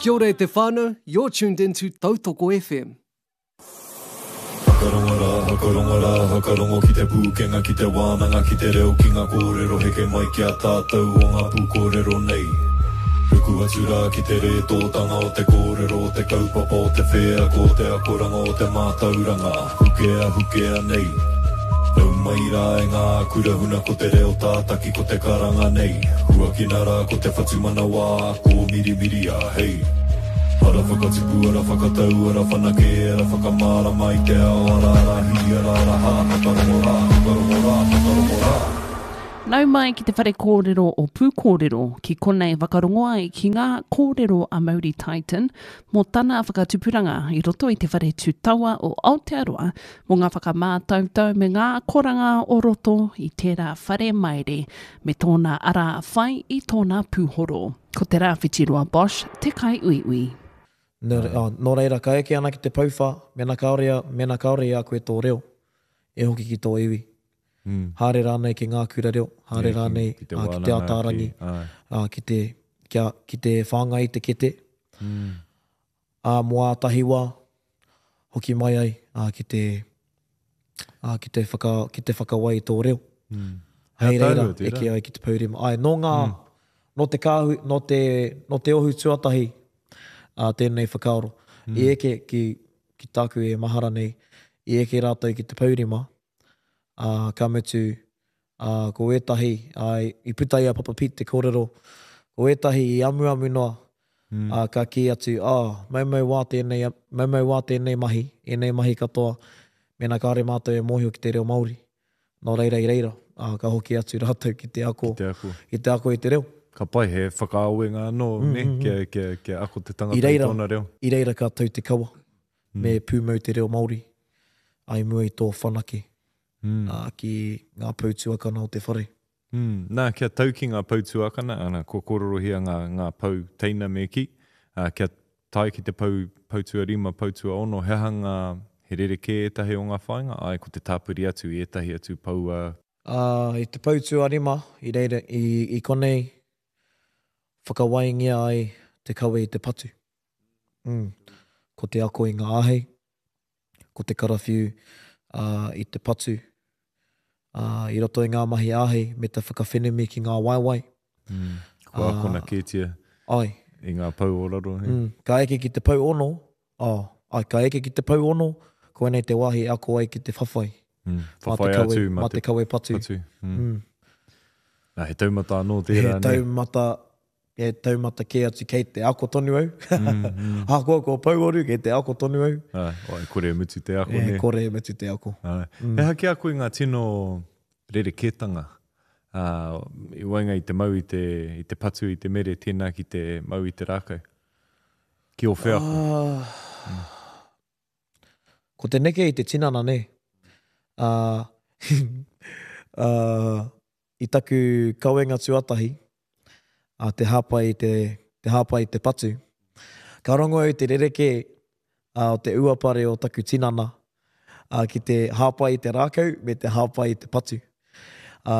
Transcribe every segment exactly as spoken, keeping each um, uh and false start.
Kia ora e te whānau, you're tuned into Tautoko FM. Whakarongo rā, whakarongo rā, whakarongo ki te pūkenga, ki te wānanga, ki te reo, ki ngā kōrero heke mai ki a tātou o ngā pūkōrero nei. Ruku atu rā ki te rētōtanga o te kōrero, o te kaupapa, o te wheako, o te akoranga, o te mātauranga, hukea, hukea nei. Nau mai rā e ngā kura huna ko te reo tātaki ko te karanga nei. Huakina rā ko te whatumanawa, ko mirimiria, hei. Ara whakatipu, ara whakatau, ara whanake, ara whakamārama i te ao, ara ara hi, ara ara hā, whakarongo rā, whakarongo rā, whakarongo rā. Nau mai ki te whare kōrero o Pūkōrero, ki konei whakarongo ai ki ngā kōrero a Mauri Titan mō tana whakatupuranga i roto i te whare tūtawa o Aotearoa mō ngā whakamātautau me ngā akoranga o roto i tērā whare maere me tōna ara whai i tōna pūhoro. Ko Te Rāwhitiroa Bosch te kaiuiui. Nō, oh, nō reira, ka eke ana ki te pouwha, mena kāore, mena kāore i a koe tō reo, e hoki ki tō iwi. Mm. Haere rānei ki ngā kura reo, haere Yeah, ki- rānei ki te ā, ki te wānanga, Ataarangi, ki- āe. ā, ki te, kia, ki te whāngai i te kete. Mm. Ā, mō ātahi wā, hoki mai ai, ā, ki te, ā, ki te whaka, ki te whakawai i tō reo. Mm. Hei He reira, ātaahua tērā. eke ai ki te pourima. Āe, nō ngā, nō te kāhui, nō te, nō te ohu tuatahi, ā, tēnei whakaaro. Mm. I eke ki, ki tāku e mahara nei, i eke rātou ki te pourima, ā, ka mutu, ā, ko ētahi, ā, i puta i a Papa Pete te kōrero, ko ētahi i amuamu noa, Mm. ā, ka kī atu, ā, maumau wā tēnei, maumau wā tēnei mahi, ēnei mahi katoa, mēnā kāore mātou e mōhio ki te reo Māori. Nō reira i reira, ā, ka hoki atu rātou ki te ako, Ki te ako. ki te ako i te reo. Ka pai, he whakaawenga anō, Mm, ne? mm, mm. Kia, kia, kia ako te tangata I reira, i tōna reo. I reira ka tau te kawa, Mm. me pūmau te reo Māori, ai mua i tō whanake, Mm. ā, ki ngā pou tuakana o te whare. Mm. Nā, kia tau ki ngā pou tuakana, ana, kua kōrorohia ngā, ngā pou teina me kī, ā, kia tae ki te pou, pou tuarima, pou tuaono, he aha ngā, he rerekē ētahi o ngā whāinga? Āe, ko te tāpiri atu i ētahi atu pou, ā, Ā, i te pou tuarima, i reira, i, i konei whakawaingia ai te kawe i te patu. Mm. Ko te ako i ngā āhei, ko te karawhiu, ā, i te patu, ā, i roto i ngā mahi āhei me te whakawhenumi ki ngā waewae. Mm. Kua akona kētia Ai. i ngā pou o raro, he? Mm. Ka eke ki te pou ono, oh, ai, ka eke ki te pou ono, koinei te wāhi e ako ai ki te whawhai. Mm. Mā te Whawhai kawe, atu, mā mā te kawe patu. patu. Mm. Mm. Nā, he taumata anō tērā, He ne? taumata, he taumata kē atu kei te ako tonu au. Mm, mm. Ahakoa kua pouoru, kei te ako tonu au. Ai, oh, e kore e mutu te ako, E ne? kore e mutu te ako. Ai. Mm. He aha ki a koe ngā tino rerekētanga, ā, i waenga i te mau i te, i te patu i te mere, tēnā ki te mau i te rākau? Ki ō wheako? Ah. Ko te neke i te tinana, ne? Ā, ā, i taku kawenga tuatahi, ā, te hāpai i te, te hāpai i te patu, ka rongo au i te rerekē, ā, o te uapare o taku tinana, ā, ki te hāpai i te rākau me te hāpai i te patu. Ā,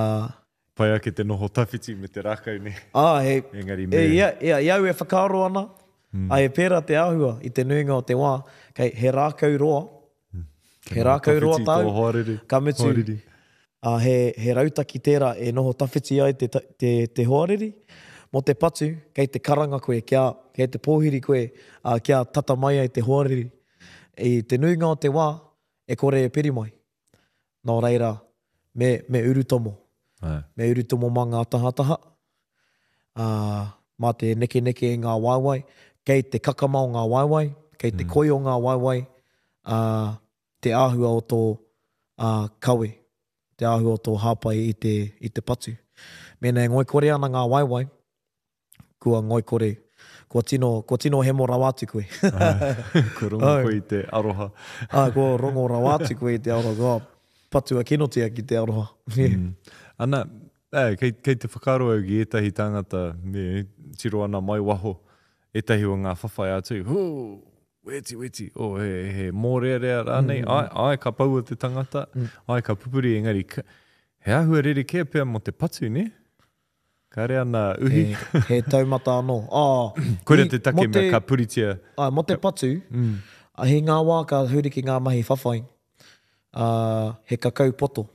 Pai ake te noho tawhiti me te rākau, ne? Ā, he, Engari e, me... ia, ia, i au e whakaaro ana, Mm. ā, e pērā te āhua i te nuinga o te wā, kei he rākau roa, Mm. he rākau roa Tawhiti tāu, tō hoariri. ka mutu, Hoariri. ā, he, he rautaki tērā e noho tawhiti ai te, te, te hoariri. Mō te patu, kei te karanga koe, kia, kei te pōhiri koe, ā, kia tata mai ai te hoariri. I te nuinga o te wā, e kore e piri mai. Nō reira, me, me urutomo. Ai. Me urutomo mā ngā tahataha, ā, mā te nekeneke i ngā waewae, kei te kakama o ngā waewae, kei te Mm. koi o ngā waewae, ā, te āhua o tō, ā, kawe, te āhua o tō hāpai i te, i te patu. Mēnā e ngoikore ana ngā waewae, kua ngoikore, kua tino, kua tino hemo rawa atu koe. Kua rongo Ai. koe i te aroha. Ā, kua rongo rawa atu koe i te aroha, kua patua kinotia ki te aroha. Mm. Ana, eh, kei, kei te whakaaro au ki ētahi tāngata, me, tiro ana mai waho, ētahi o ngā whawhai atu, hū, weti, weti, oh, he, he mōrearea rānei, Mm. ai, ai, ka paua te tangata, Mm. ai, ka pupuri, engari, ka, he āhua rerekē pea mō te patu, ne? Kāre ana uhi. He, he taumata anō. Oh, Koira i- te take mō mea ka puritia. Ai, mō te patu, mm. he ngā wā ka huri ki ngā mahi whawhai, uh, he kakau poto.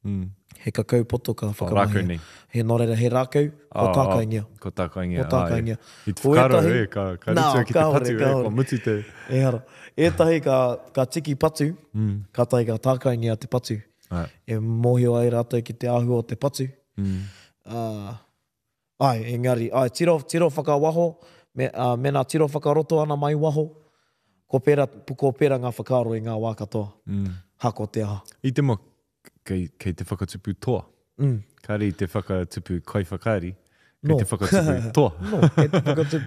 Mm. He kakau poto ka Oh, whakamahia. rākau nei. He, nō reira, he rākau, ko Oh, oh, tākaingia. Ko tākaingia. Ko tākaingia. Ai. I te Ko whakaaro, ētahi- e, ka, ka Nā, ritua ki te kāore, patu, e, kāore. kua mutu te... Ehara. Ētahi ka, ka tiki patu, mm. kātahi ka tākaingia te patu. Ai. E mōhio ai rātou ki te āhua o te patu. Mm. Uh, ai, engari, ai, tiro, tiro whakawaho, me, uh, mena tiro whakaroto ana mai waho, ko pera, ko pera ngā whakaaro i ngā wā katoa. Mm. Hako te aha. I te mo, kei, kei te whakatupu toa. Mm. Kāre i te whakatupu kaiwhakaari, kei No. te whakatupu toa. No, kei te whakatupu